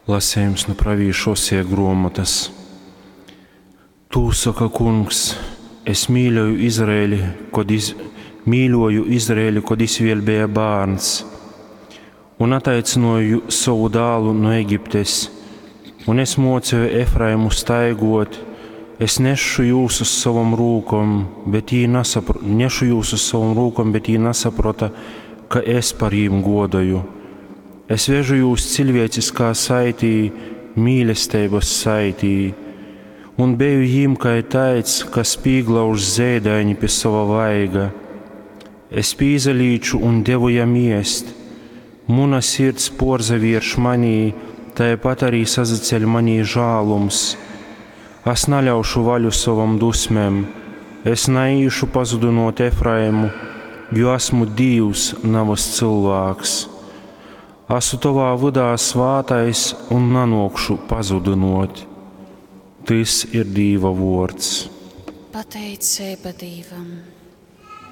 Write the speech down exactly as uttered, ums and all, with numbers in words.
Lasejums nu pravīša Oseja gruomotys. Tū soka Kungs: Es mīļoju Izraeli, kod iz, mīļuoju Izraeli, kod jis vēļ beja bārns, un ataicynuoju sovu dālu nu Egiptes, un es muoceju Efraimu staiguot, es nešu jūs uz sovom rūkom, bet jī nasapro, nešu jūs uz sovom rūkom, bet jī nasaprota, ka es par jīm guodoju. Es vežu jūs ciļvieciskā saitī, mīlesteibys saitī, un beju jim kai taids, kas pīglauž zeidaini pi sova vaiga. Es pīsalīču un devu jam iest. Muna sirds puorzavierš manī, taipat arī sasaceļ manī žālums. Es naļaušu vaļu sovom dusmem, es naīšu pazudynuot Efraimu, jo esmu Dīvs, navys cylvāks. Esmu tovā vydā svātais un nanuokšu pazudynuot. Tys ir Dīva vuords. Pateiceiba Dīvam!